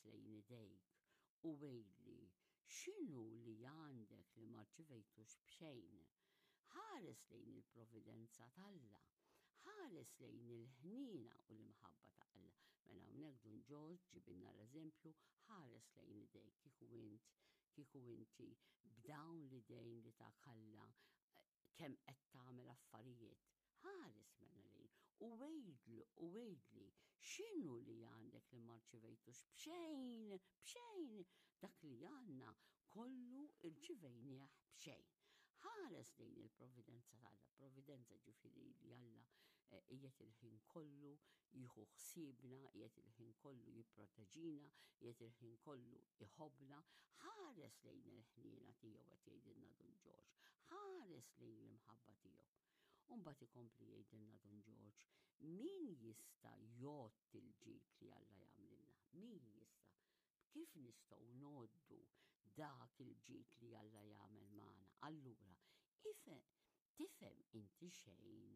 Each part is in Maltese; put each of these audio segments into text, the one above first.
lejn idejk u għidli x'inhu li għandek li ma rċivejtux b'xejn. Ħares lejn il-providenza t'Alla. Ħares lejn il-ħniena u l-imħabba ta' Alla. Mela hawnhekk Dun Ġorġ ġibilna l-eżempju ħares lejn idejk kieku int, kieku inti b'dawn l-idejn li tak Alla kemm qed tagħmel affarijiet. Ħares mela lejn u għidlu u għidli x'inhu li għandek li ma rċivejtux b'xejn, b'xejn dak li għandna kollu rċivejnieh b'xejn. Ħares lejn il-providenza t'Alla, providenza ġifieri li Alla eh, qiegħed il-ħin kollu jieħu ħsiebna, qiegħed il-ħin kollu jipproteġina, qiegħed il-ħin kollu iħobbna. Ħares lejn il-ħniena tiegħu qed jgħidilna Dun Ġorġ, ħares lejn l-imħabba tiegħu. U mbagħad ikompli jgħidilna Dun Ġorġ, min jista' jgħodd il-ġid li Alla jagħmlilna? Min jista' Kif nistgħu ngħoddu dak il-ġid li Alla jagħmel magħna? Allura, tifhem inti xejn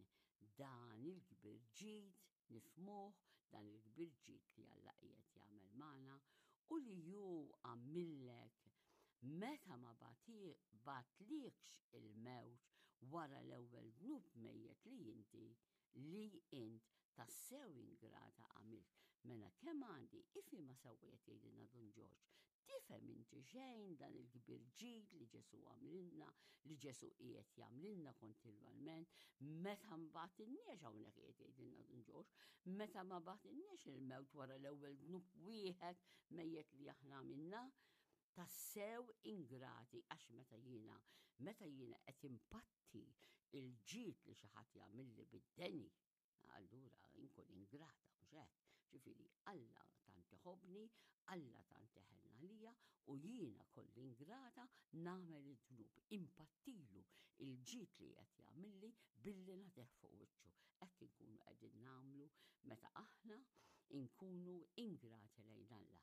dan il-kbir ġid, nifhmuh dan il-kbir ġid li Alla qiegħed jagħmel magħna u li hu għamillek meta ma bagħtlikx il-mewt wara l-ewwel dnub mejjet li inti li int tassew ingrata għamilt. Mela kemm għandi ifhimha sewwa qed jgħidilna Dun Ġorġ. Tifhem inti xejn dan il-kbir ġid li Ġesù għamlilna, li Ġesù qiegħed jagħmlilna kontinwalment, meta mbagħtilniex hawnhekk qiegħed jgħidilna Dun Ġorġ, meta ma bagħtilniex il-mewt wara l-ewwel dnub wieħed mejjet li aħna għamilna, tassew ingrati għax meta jiena meta jiena qed impatti il-ġid li xi ħadd jagħmilli bid-deni, allura inkun ingrata mhux hekk. Ġifieri Alla tant iħobbni, Alla tant iħenn għalija u jiena kolli ingrata nagħmel id-dnub, impattilu il-ġid li qed jagħmilli billi nagħtih fuq wiċċu. Hekk inkunu qegħdin nagħmlu meta aħna nkunu ingrati lejn Alla.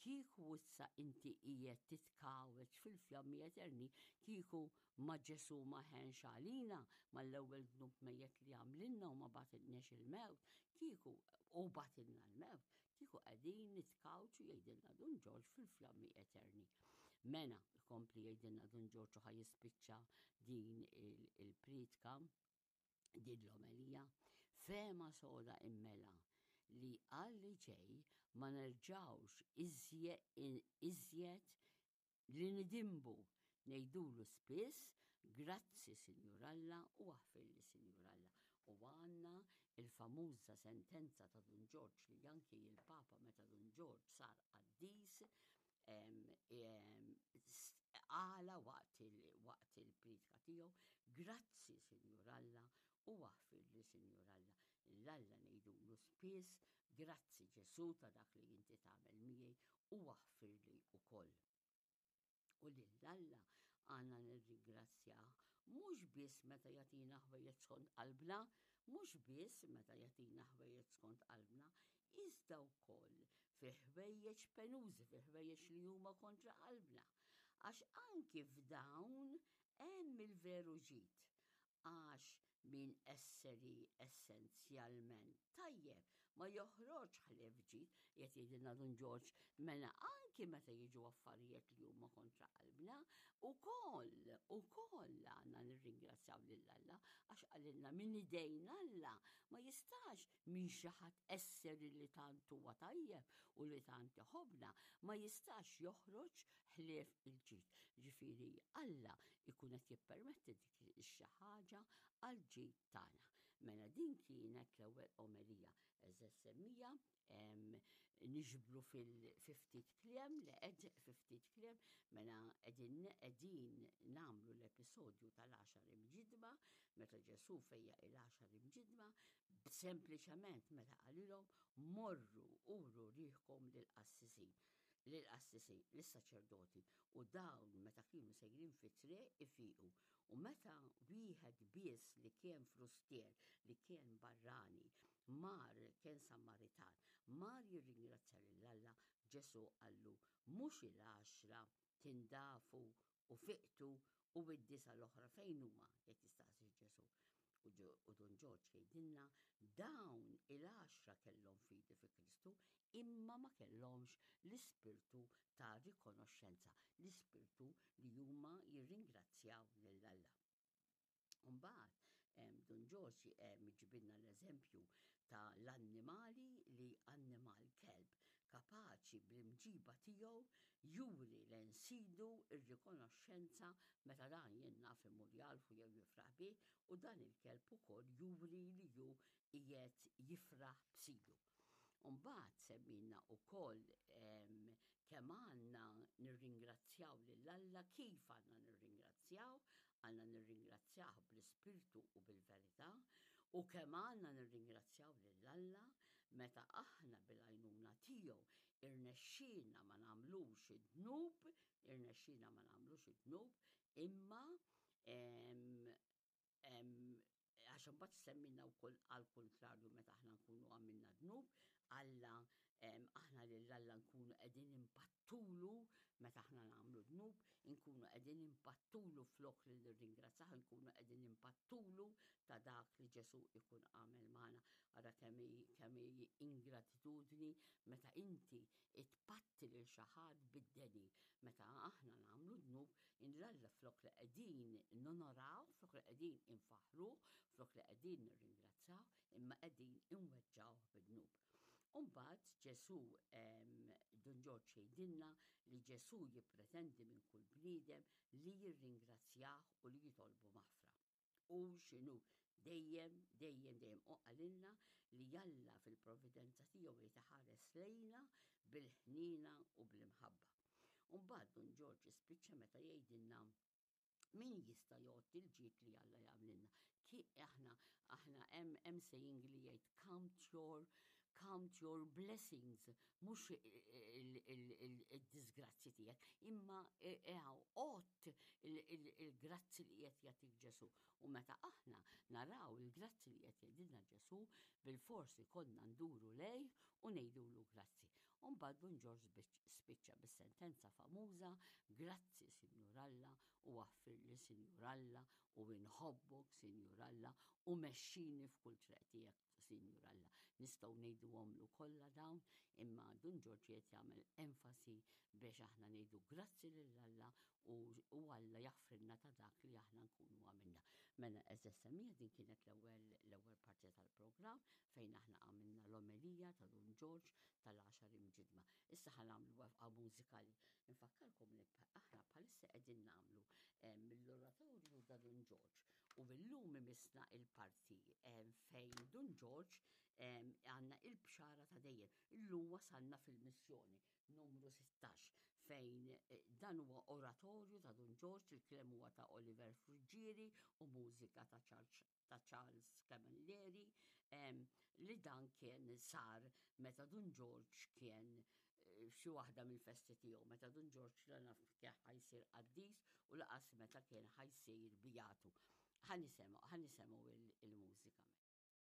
Kieku issa inti qiegħed titkawweġ fil-fjammi eterni, kieku ma Ġesù ma ħenx għalina mal-ewwel dnub mejjet li għamlilna u ma bagħtilniex il-mewt, kieku u bagħtilna l-mewt, kieku qegħdin nitkawċu jgħidilna Dun Ġorġ fil-fjammi eterni. Mena, ikompli jgħidilna Dun Ġorġ u ħa jispiċċa din il-priedka din l-omelija, fehma soda immela li għal li ġej ma nerġgħux iżjed li nidinbu ngħidulu spiss grazzi Sinjur Alla u aħfirli Sinjur Alla. U għandna il-famuża sentenza ta' Dun Ġorġ li anki il-Papa meta Dun Ġorġ sar qaddis għala waqt il-priedka tiegħu, grazzi Sinjur Alla u aħfirli Sinjur Alla. L-Alla ngħidulu spiss, grazzi Ġesù ta' dak li inti tagħmel miegħi u aħfirli wkoll. U lil Alla għandna nirringrazzjah mhux biss meta jagħtina ħwejjeġ skont qalbna, mhux biss meta jagħtina ħwejjeġ skont qalbna, iżda wkoll fi ħwejjeġ penużi, fi ħwejjeġ li huma kontra qalbna. Għax anki f'dawn hemm il-veru ġid. Għax min esseri essenzjalment tajjeb ma joħroġ ħlief ġid, qed jgħidilna Dun Ġorġ, mela anki meta jiġu affarijiet li huma kontra qalbna, ukoll, ukoll għandna nirringrazzjaw lil Alla għax qalilna minn idejn Alla ma jistax minn xi ħadd esseri li tant huwa tajjeb u li tant iħobbna ma jistax joħroġ ħlief il-ġid. Ġifieri Alla jkun qed jippermetti dik xi ħaġa għal ġid tagħna. Mela din kienet l-ewwel omelija. Eżeż semmija niġbru fil-ftit kliem li qed ftit kliem mela qegħdin qegħdin nagħmlu l-episodju tal-għaxar imġidma meta Ġesù fejja il-għaxar imġidma sempliċement meta qalilhom morru uru riħkom lill-qassisin lill-qassisin, lis-saċerdoti, u dawn meta kienu sejrin fit-triq ifiqu. U meta wieħed biss li kien frustier, li kien barrani, mar kien Sammaritan, mar jirringrazzja lil Alla, Ġesù qallu, mhux il-għaxra tindafu u fiqtu u id-disa l-oħra fejn huma, qed jistaqsi Ġesù. U Dun Ġorġ jgħidilna dawn il-għaxra kellhom fidi fi Kristu imma ma kellhomx l-ispirtu ta' rikonoxxenza, l-ispirtu li huma jirringrazzjaw lil Alla. Mbagħad Dun Ġorġ iġibilna l-eżempju ta' l-annimali li annimal kelb kapaċi bl-imġiba tiegħu juri lejn sidu r-rikonoxxenza meta dan jien naf imur jagħlfu jew jifraħ bih u dan il-kelb ukoll juri li hu qiegħed jifraħ b'sidu. U mbagħad semmilna wkoll kemm għandna nirringrazzjaw lil Alla, kif għandna nirringrazzjaw, għandna nirringrazzjah bl-ispirtu u bil-verità, u kemm għandna nirringrazzjaw lil Alla meta aħna bil-għajnuna tiegħu irnexxielna ma nagħmlux id-dnub, irnexxielna ma nagħmlux id-dnub, imma għax imbagħad semmilna wkoll għal kuntrarju meta aħna nkunu għamilna dnub, Alla aħna lil Alla nkunu qegħdin impattulu meta aħna nagħmlu dnub, inkunu qegħdin impattulu flok li nirringrazzah, inkunu qegħdin impattulu ta' dak li Ġesu ikun għamel magħna. Ara kemm hi ingratitudni meta inti tpatti lil xi ħadd bid-deni. Meta aħna nagħmlu dnub, 'l Alla flok li qegħdin nonoraw, flok li qegħdin infaħħruh, flok li qegħdin nirringrazzjaw, imma qegħdin inweġġgħuh bid-dnub. U mbagħad Ġesù Dun Ġorġ jgħidilna li Ġesù jippretendi minn kull bniedem li jirringrazzjah u li jitolbu maħfra. Hu x'inhu, dejjem, dejjem, dejjem. U qalilna li Alla fil-providenza tiegħu jrid iħares lejna bil-ħniena u bl-imħabba. U mbagħad Dun Ġorġ jispiċċa meta jgħidilna min jista' jgħodd il-ġid li Alla jagħmlilna. Ki aħna aħna hemm hemm saying li jgħid count your count your blessings, mhux il-disgrazzi tiegħek, imma għodd il-grazzi li qed jagħtik Ġesù. U meta aħna naraw il-grazzi li qed jgħidilna Ġesù, bilfors ikollna nduru lejh u ngħidulu grazzi. U mbagħad Dun Ġorġ spiċċa bis-sentenza famuża, Grazzi, Sinjur Alla, u aħfirli, Sinjur Alla, u inħobbok, Sinjur Alla, u mexxini f'kull triq tiegħek, Sinjur Alla. Nistgħu ngħiduhomlu kollha dawn, imma Dun Ġorġ qiegħed jagħmel enfasi biex aħna ngħidu grazzi lil Alla u, u Alla jaħfrilna ta' dak li aħna nkunu għamilna. Mela għeżież semmiegħa din kienet l-ewwel l-ewwel parti tal-programm fejn aħna għamilna l-omelija ta' Dun Ġorġ tal-għaxar imġidma. Issa ħa nagħmlu waqfa mużikali. Infakkarkom li aħna bħalissa qegħdin nagħmlu eh, mill-oratorju ta' Dun Ġorġ u illum imissna il-parti eh, fejn Dun Ġorġ eh, għandna il-bxara ta' dejjem. Illum wasalna fil-missjoni numru 16 fejn dan huwa oratorju ta' Dun Ġorġ, il-kliem huwa ta' Oliver Friggieri u mużika ta' Charles ta' Charles Camilleri li dan kien sar meta Dun Ġorġ kien eh, f'xi waħda mill-festi tiegħu, meta Dun Ġorġ la naf kien ħajsir qaddis u laqas meta kien ħajsir bijatu. Ħa nisimgħu il-mużika mela.